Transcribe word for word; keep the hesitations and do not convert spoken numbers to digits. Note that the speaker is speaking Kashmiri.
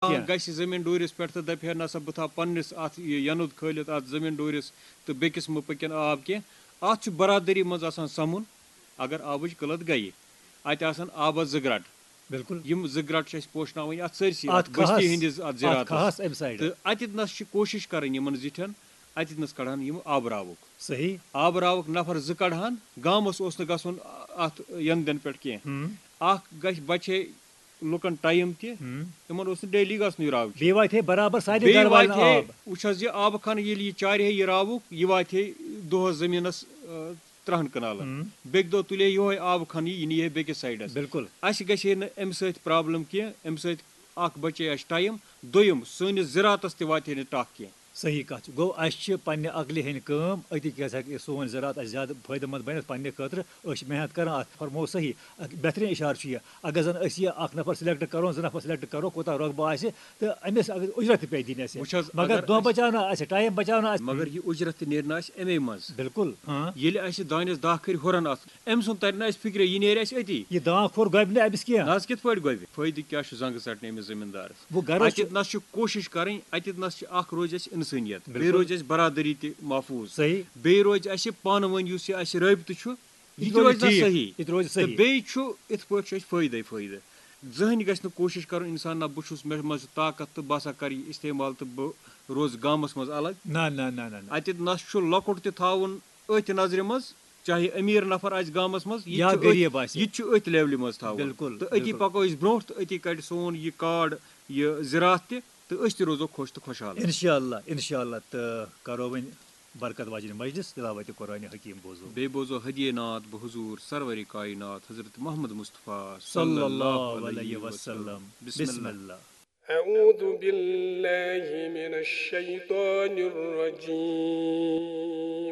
کانٛہہ گژھِ زٔمیٖن ڈوٗرِس پٮ۪ٹھ تہٕ دَپہِ ہے، نسا بہٕ تھاوٕ پننِس اَتھ یہِ یَنُد کھٲلِتھ اَتھ زٔمیٖن ڈوٗرِس تہٕ بیٚکِس مہٕ پٔکِن آب کینٛہہ۔ اَتھ چھُ برادٔری منٛز آسان سَمُن۔ اگر آبٕچ قٕلت گٔیہِ، اَتہِ آسَن آبَس زٕ گرٛٹ۔ بِلکُل۔ یِم زٕ گرٛٹ چھِ اَسہِ پوشناوٕنۍ اَتھ سٲرسٕے، اَتھ اَتھ بٔستی کھَہَس، ہِنٛدِس اَتھ اَتھ زِراتَس۔ کھَہَس اَمہِ سایڈٕ۔ تہٕ اَتٮ۪تھ نَس چھِ کوٗشِش کَرٕنۍ یِمَن زِٹھٮ۪ن، اَتٮ۪تھ نَس کَڑٕہَن یِم آبراوُک۔ صحیح۔ آبراوُک نفر زٕ کَڑٕہَن، گامَس اوس نہٕ گژھُن اَتھ یَنٛدَن پٮ۪ٹھ کینٛہہ۔ ہُم۔ اَکھ گژھِ بَچے لُکَن ٹایم تہِ، ہُم۔ یِمَن اوس نہٕ ڈیلی گژھُن یہِ راوُک۔ بیٚیہِ واتہِ ہے برابر سارنٕے بیٚیہِ گرٕ والٮ۪ن واتہِ ہے، آب۔ وٕچھ حظ، یہِ آبہٕ خانہٕ ییٚلہِ یہِ چارِ ہے یہِ راوُک، یہِ واتہِ ہے دۄہَس زٔمیٖنَس، آ، تٕرٛہَن کنالَن۔ ہُم۔ بیٚکہِ دۄہ تُلہِ ہے یِہوٚے آبہٕ خانہٕ، یہِ نی ہے بیٚکِس سایڈَس۔ بِلکُل۔ اَسہِ گژھِ ہے نہٕ اَمہِ سۭتۍ پرابلم کینٛہہ، اَمہِ سۭتۍ اَکھ بَچے اَسہِ ٹایم، دوٚیِم سٲنِس زِراتَس تہِ واتہِ ہے نہٕ ٹَکھ کینٛہہ۔ صحیح کَتھ چھِ۔ گوٚو، اَسہِ چھِ پننہِ عقلہِ ہٕنٛدۍ کٲم، أتی کیٛاہ ہیٚکہِ سون زِراعت اَسہِ زیادٕ فٲیدٕ مند بٔنِتھ پننہِ خٲطرٕ۔ أسۍ چھِ محنت کران، اَتھ فرموو صحیح۔ اکھ بہتریٖن اِشارٕ چھُ یہِ۔ اگر زَن أسۍ یہِ اکھ نفر select کرو، زٕ نفر select کرو، کوٗتاہ رۄقبہٕ آسہِ، تہٕ أمِس اگر اُجرت تہِ پیٚیہِ دِنۍ اَسہِ۔ وٕچھ حظ، مگر اگر دۄہ أسۍ بچاونہٕ آسہِ، ٹایم بچاونہٕ آسہِ۔ مگر یہِ اُجرت تہِ نیرِ نہٕ اَسہِ اَمے منٛز۔ بِلکُل، ہاں۔ ییٚلہِ اَسہِ دانٮ۪س دَہ کھٔرۍ ہُرن اَتھ، أمۍ سُنٛد تَرِ نہٕ اَسہِ فِکرِ، یہِ نیرِ اَسہِ أتی۔ یہِ دانٛ کھوٚر گۄبہِ نہٕ أمِس کینٛہہ۔ نہ حظ، کِتھ پٲٹھۍ گۄبہِ؟ فٲیدٕ کیٛاہ چھُ زنٛگہٕ ژَٹنہٕ أمِس زٔمیٖندارَس؟ وۄنۍ غرض چھُ اَتٮ۪تھ نَس چھِ کوٗشِش کَرٕنۍ، اَتٮ۪تھ نَس چھِ اَکھ روزِ اَسہِ اِنسٲنیت، بیٚیہِ بِلکُل۔ روزِ اَسہِ برادٔری تہِ محفوٗظ۔ صحیح۔ بیٚیہِ روزِ اَسہِ پانہٕ ؤنۍ یُس یہِ اَسہِ رٲبطہٕ چھُ، یہِ یہِ تہِ روزِ روزِ نہ ٹھیٖک، صحیح۔ یہِ تہِ روزِ تہٕ صحیح۔ بیٚیہِ چھُ یِتھ پٲٹھۍ چھُ اَسہِ فٲیدَے فٲیدٕ۔ زٕہٕنۍ گژھِ نہٕ کوٗشِش کَرُن اِنسان، نہ بہٕ چھُس، مےٚ منٛز چھُ طاقت تہٕ بہٕ ہسا کَرٕ یہِ استعمال تہٕ بہٕ روزٕ گامَس منٛز الگ۔ نہ، نہ، نہ، نہ، نہ۔ اَتٮ۪تھ نَس چھُ لۄکُٹ تہِ تھاوُن أتھۍ نظرِ منٛز، چاہے أمیٖر نفر آسہِ گامَس منٛز، یہِ تہِ یا چھُ أتھۍ، غریٖب آسہِ۔ یہِ تہِ چھُ أتھۍ لیولہِ منٛز تھاوُن۔ بِلکُل، تہٕ أتی بِلکُل۔ پَکو أسۍ برونٛٹھ تہٕ أتی کَڑِ سون یہِ کارڈ، یہِ زِراعت تہِ، تہٕ أسۍ تہِ روزو خۄش تہٕ خۄشحال۔ اِنشاءاللہ، اِنشاءاللہ، تہٕ کَرو وۄنۍ برکت واجنہِ مجلس تلاوت قرآن حکیم بوزو۔ بیٚیہِ بوزو ہدیہ نعت بحضور سرور کائنات حضرت محمد مصطفیٰ صلی اللہ علیہ وسلم۔ بسم اللہ۔ أعوذ بالله من الشيطان الرجيم۔